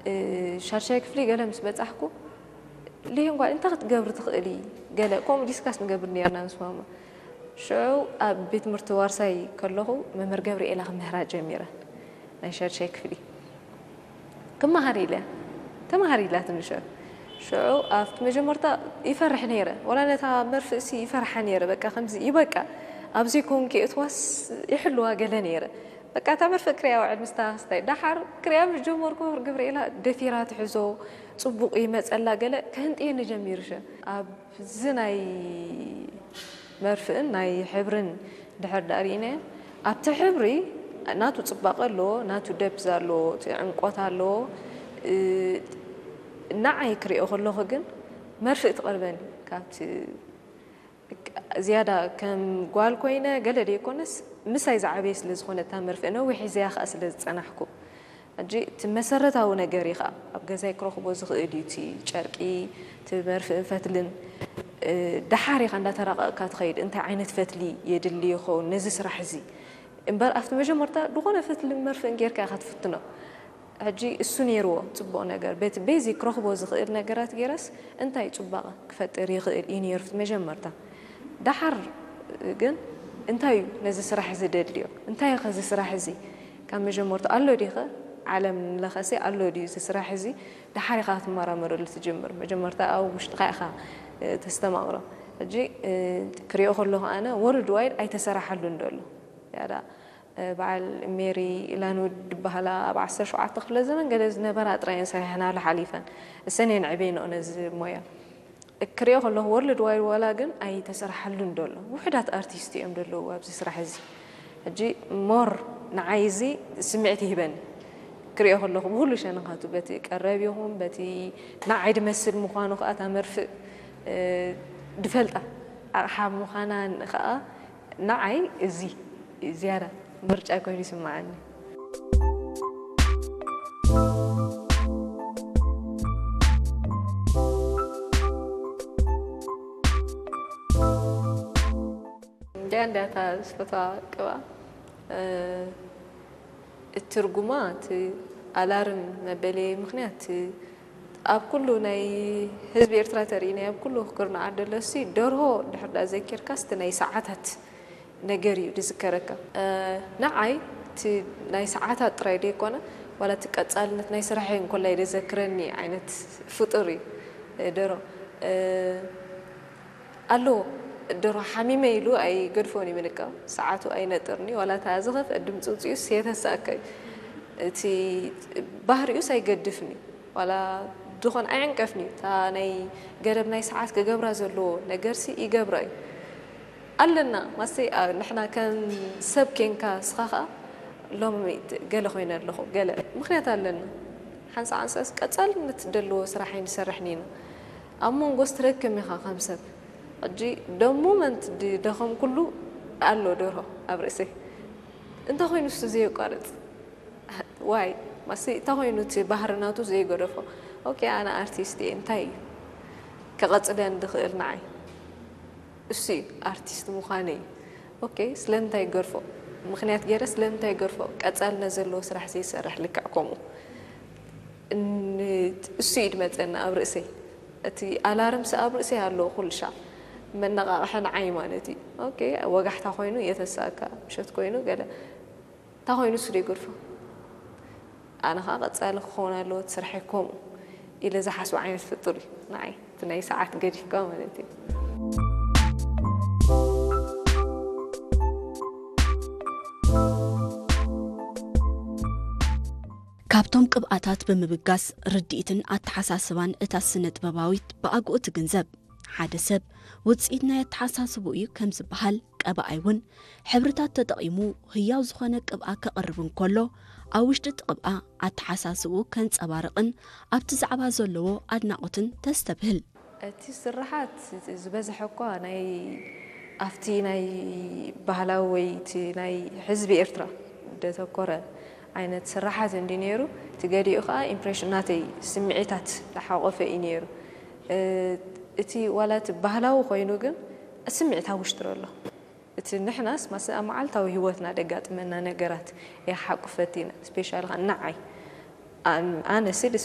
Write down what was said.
እ፣ ሻድሻይ ክፍሊ ገለ ምስ በጻሕኩ፣ ሊሂን ጓል እንታይ ክትገብሪ ትኽእሊ? ገለ ከምኡ ዲስካስ ንገብር ነርና ምስ ማማ። ሽዑ ኣብ ቤት ትምህርቲ ዋርሳይ ከለኹ መምህር ገብርኤላ ክምህራ ጀሚረ። ናይ ሻድሻይ ክፍሊ ክመሃር ኢለ፣ ተመሃር ኢላትኒ ሽዑ። ሽዑ ኣብቲ መጀመርታ ይፈርሕ ነይረ። ወላ ነታ መርፍእሲ ይፈርሓ ነይረ። በቃ ከምዚ ይበቃ፣ ኣብ ዘይኮንኪ እትዋስ ይሕልዋ ገለ ነይረ። በቃ እታ መርፍእ ክሪያ ውዕል ምስታ ክስታይ። ደሓር ክሪያ ምስ ጀመርኩ ገብርኤላ ደፊራ ትሕዞ፣ ጽቡቕ ይመጸላ ገለ ከህንጥየኒ ጀሚሩ። ሸ ኣብዚ ናይ መርፍእን ናይ ሕብርን ድሕር ደኣ ርኢናዮ፣ ኣብቲ ሕብሪ ናቱ ጽባቐ ኣለዎ፣ ናቱ ደብዝ ኣለዎ፣ እቲ ዕምቆት ኣለዎ። እ፣ ንዓይ ክሪኦ ከለኹ ግን መርፍእ ትቐርበኒ ካብቲ ዝያዳ ከም ጓል ኮይነ ገለ ደይኮነስ ምሳይ ዝዓበየ ስለ ዝኾነ እታ መርፍእ ነዊሕ ሒዘያ ከኣ ስለ ዝጸናሕኩ። ሕጂ እቲ መሰረታዊ ነገር እዩ ከኣ ኣብ ገዛይ ክረኽቦ ዝኽእል እዩ እቲ ጨርቂ፣ እቲ መርፍእን ፈትልን። እ፣ ደሓር ኢኻ እንዳተራቐቕካ ትኸይድ። እንታይ ዓይነት ፈትሊ የድሊ ይኸውን ነዚ ስራሕ እዚ? እምበር ኣብቲ መጀመርታ ዝኾነ ፈትልን መርፍእን ጌርካ ኢኻ ትፍትኖ። ሕጂ እሱ ነይርዎ ጽቡቕ ነገር። በቲ ቤዚክ ክረኽቦ ዝኽእል ነገራት ገይረስ እንታይ ጽባቐ ክፈጥር ይኽእል እዩ ነይሩ ኣብቲ መጀመርታ። ደሓር ግን እንታይ እዩ ነዚ ስራሕ እዚ ደድልዮ? እንታይ እዩ ከዚ ስራሕ እዚ ካብ መጀመርታ ኣሎ ዲኸ? ዓለም ለኸሲ ኣሎ ድዩ እዚ ስራሕ እዚ? ደሓር ኢኻ ክትመራመረሉ ትጅምር። መጀመርታ ኣብ ውሽጥኻ ኢኻ፣ እ፣ ተስተማቕሮ። ሕጂ፣ እ፣ ክሪኦ ከለኹ ኣነ ወርልድ ዋይድ ኣይተሰራሓሉን ዘሎ። ያዳ፣ እ፣ በዓል ሜሪ ላንውድ ዝበሃላ ኣብ ዓሰርተ ሸውዓተ ክፍለ ዘመን ገለ ዝነበራ ጥራይ እየን ሰሪሐናሉ ሓሊፈን። እሰን እየን ዕቤንኦ ነዚ ሞያ። ክሪኦ ከለኹ ወርልድ ዋይድ ዋላ ግን ኣይተሰርሓሉን ዘሎ። ውሑዳት ኣርቲስት እዮም ዘለዉ ኣብዚ ስራሕ እዚ። ሕጂ ሞር ንዓይ እዚ ስምዒት ይህበኒ። ክሪኦ ከለኹ ብኹሉ ሸነኻቱ፣ በቲ ቀረብ ይኹን፣ በቲ ንዓይ ድመስል ምዃኑ ከኣ እታ መርፍእ፣ እ፣ ድፈልጣ ኣቕሓ ምዃና ከኣ ንዓይ እዚ ዝያዳ ምርጫ ኮይኑ ይስምዓኒ። እንድያ እንድያ እታ ዝፈትዋ ቅብኣ፣ እ፣ እቲ ትርጉማ፣ እቲ ኣላርም መበለየ ምኽንያት፣ እቲ ኣብ ኩሉ ናይ ህዝቢ ኤርትራ ተርእይ ናይ ኣብ ኩሉ ክርናዓት ደሎ እሲ ደርሆ ድሕር ዳ ዘኪርካስ እቲ ናይ ሰዓታት ነገር እዩ ዝዝከረካ። እ፣ ንዓይ እቲ ናይ ሰዓታት ጥራይ ደይኮነ፣ ዋላ እቲ ቀጻልነት ናይ ስራሐይ እንኮላይ ደዘክረኒ ዓይነት ፍጡር እዩ፣ እ፣ ደርሆ። እ፣ ኣለዎ። ደርሆ ሓሚመ ኢሉ ኣይገድፎን እዩ ምንቃው። ሰዓቱ ኣይነጥርኒ፣ ዋላ እታ ዝኸፍአ ድምፂ ውፅኡስ የተሳእከ እዩ። እቲ ባህሪኡስ ኣይገድፍን እዩ። ዋላ ድኾን ኣይዕንቀፍን እዩ። እታ ናይ ገደብ ናይ ሰዓት ክገብራ ዘለዎ ነገርሲ ይገብራ እዩ። ኣለና፣ ማሰይ፣ ኣ፣ ንሕና ከም ሰብ ኬንካ፣ ንስኻ ኸኣ ሎሚ ገለ ኮይነ ኣለኹ፣ ገለ ምኽንያት ኣለና። ሓንሳ ሓንሳስ ቀጻልነት ደለዎ ስራሕ ኣይንሰርሕን ኢና። ኣብ መንጎስ ትረክም ኢኻ ከም ሰብ። ሕጂ ደሙ መን ድደኸም ኩሉ ኣሎ ደርሆ ኣብ ርእሰይ። እንታይ ኮይኑ እሱ ዘየቋርጽ? ዋይ፣ ማሲ እንታይ ኮይኑ እቲ ባህሪ ናቱ ዘይገደፎ? ኦኬ፣ ኣነ ኣርቲስት እየ፣ እንታይ እዩ ከቐጽለን ዝኽእል ንዓይ? እሱ እዩ ኣርቲስት ምዃነይ። ኦኬ፣ ስለምንታይ ይገድፎ? ምኽንያት ገይረ ስለምንታይ ይገድፎ? ቀጻልነት ዘለዎ ስራሕ ዘይሰርሕ ልክዕ ከምኡ። ን-፣ እሱ እዩ ድመጸና ኣብ ርእሰይ። እቲ ኣላርምስ ኣብ ርእሰይ ኣለዎ ኩሉ ሻዕ። መነቓቕሒ ንዓይ ማለት እዩ። ኦኬ፣ ወጋሕታ ኮይኑ የተሳእካ፣ ምሸት ኮይኑ ገለ። እንታይ ኮይኑ እሱ ዘይገድፎ? ኣነ ኸዓ ቀጻሊ ክኸውን ኣለዎ እቲ ስርሐይ ከምኡ ኢለ ዝሓስቦ ዓይነት ፍጡር እዩ ንዓይ። እቲ ናይ ሰዓት ገዲፍካ ማለት እዩ። ካብቶም ቅብኣታት ብምብጋስ ርድኢትን ኣተሓሳስባን እታ ስነ ጥበባዊት ብኣግኡ ትግንዘብ። ሓደ ሰብ ውጽኢት ናይ ኣተሓሳስብኡ እዩ ከም ዝበሃል፣ ቀባኣይ እውን ሕብርታት ተጠቒሙ ህያው ዝኾነ ቅብኣ ከቕርብ እንከሎ፣ ኣብ ውሽጢ እቲ ቅብኣ ኣተሓሳስብኡ ከንጸባርቕን ኣብቲ ዛዕባ ዘለዎ ኣድናቖትን ተስተብህል። እቲ ስርሓት ዝበዝሐ እኳ ናይ፣ ኣብቲ ናይ ባህላዊ ወይ እቲ ናይ ህዝቢ ኤርትራ ደተኮረ ዓይነት ስርሓት እንዲ ነይሩ፣ እቲ ገሊኡ ኸዓ ኢምፕሬሽን ናተይ ስምዒታት ዝሓቖፈ እዩ ነይሩ። እ፣ እቲ ዋላ እቲ ባህላዊ ኮይኑ ግን ስምዒት ኣብ ውሽጢ ኣሎ። እቲ ንሕናስ ማስ ኣብ መዓልታዊ ህይወትና ደጋጥመና ነገራት የሓቁፈት ኢና። ስፔሻሊ ኸዓ ንዓይ፣ ኣን-፣ ኣነ ሲ ደስ